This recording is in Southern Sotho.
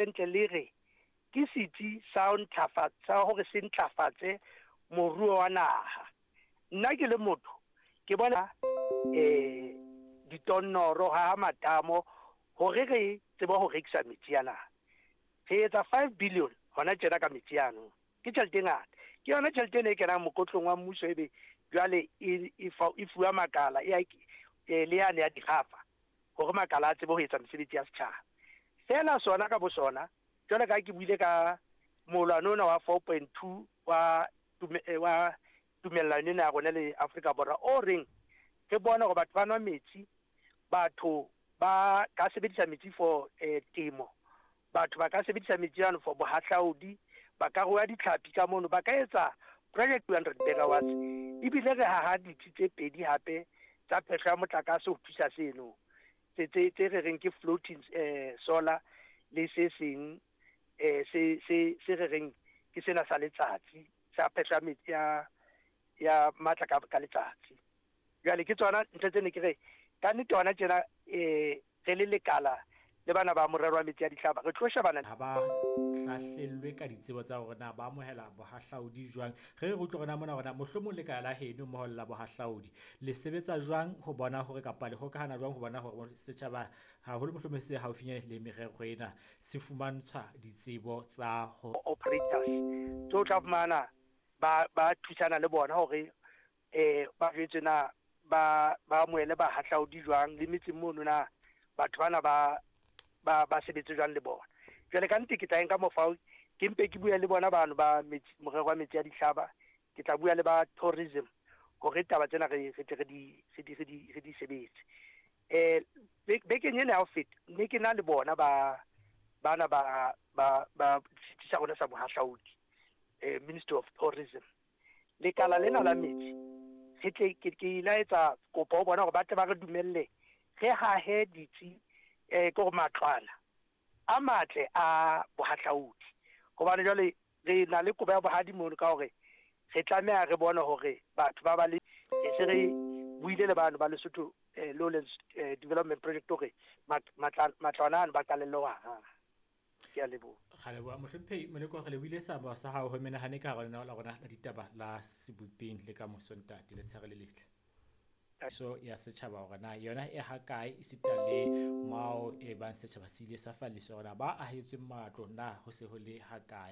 Ntle le re ke setsi sa ho sa hore se ntlafatse moruo wa naha. Nna ke le motho ke bona ditonnoro, haha matamo hore re tsebe ho rekisa metsi ana. Re etsa 5 billion hona tjena ka metsi ano. Ke tjhelete e ngata. Ke yona tjhelete ena e kenang mokotlong wa mmuso, ebe jwale e fuwa makala e le yane ya dikgafa hore makala a tsebe ho etsa mesebetsi ya setjhaba. Feela sona ka bo sona, jwale ka ke buile ka molwane ona wa 4.2 wa tumellano ena ya rona le Afrika Borwa, o reng re bone hore batho ba nwa metsi, batho ba ka sebedisa metsi for temo, batho ba ka sebedisa metsi ano for bohahlaodi, ba ka rua ditlhapi ka mono, ba ka etsa project 200 megawatts, ebile re haha ditsi tse pedi hape tsa phehlo ya motlakase ho thusa seno tse re reng ke floating solar, le se seng se re reng ke sena sa letsatsi sa phehlo ya metsi ya matla ka letsatsi. Jwale ke tsona ntho tse ne ke re ka nnete hona tjena re le lekala le bana ba morero wa metsi a dihlaba re tlo shebana. Ha ba hlahlellwe ka ditsebo tsa hore na ba amohela bohahlaudi jwang. Re utlwe hore na mona hore na mohlomong lekala la heno mmoho le la bohahlaudi le sebetsa jwang ho bona hore, kapa le hokahana jwang ho bona hore setjhaba, haholo mohlomong se haufinyane le merero ena, se fumantshwa ditsebo tsa ho Operators tse o tla fumana ba thusana le bona hore ba jwetse na ba amohele bahahlaudi jwang le metseng mono, na batho bana ba sebetse jwang le bona. Jwale ka nnete ke tla nka mofao ke mpe ke bue le bona bano ba metsi, morero wa metsi a dihlaba, ke tla bua le ba tourism hore taba tsena re tle re di sebetse. Bekeng ena ya ho feta ne ke na le bona ba bana ba setsi sa rona sa bohahlaudi, Ministry of Tourism, lekala lena la metsi, re tle ke ile etsa kopo ho bona hore ba tle ba re dumelle re hahe ditsi, ke hore matlwana a matle a bohahlaudi, hobane jwale re na le kobo ya bohadi mono ka hore re tlameha re bone hore batho ba le se re buile le bano ba Lesotho Lowlands Development Project hore matlwana ano ba qalelle ho haha. Ke a leboha. Ra leboha, mohlomphehi Moleko. Re lebohile seabo sa hao ho menahane ka hara lenaneo la rona la ditaba la Sebopeng le ka moso. Ntate, letshehare le letle. So ya setjhaba hore na yona e ha kae, esita le mao e bang setjhaba se ile sa falliswa, hore na ba ahetsweng matlo na ho se ho le ha kae.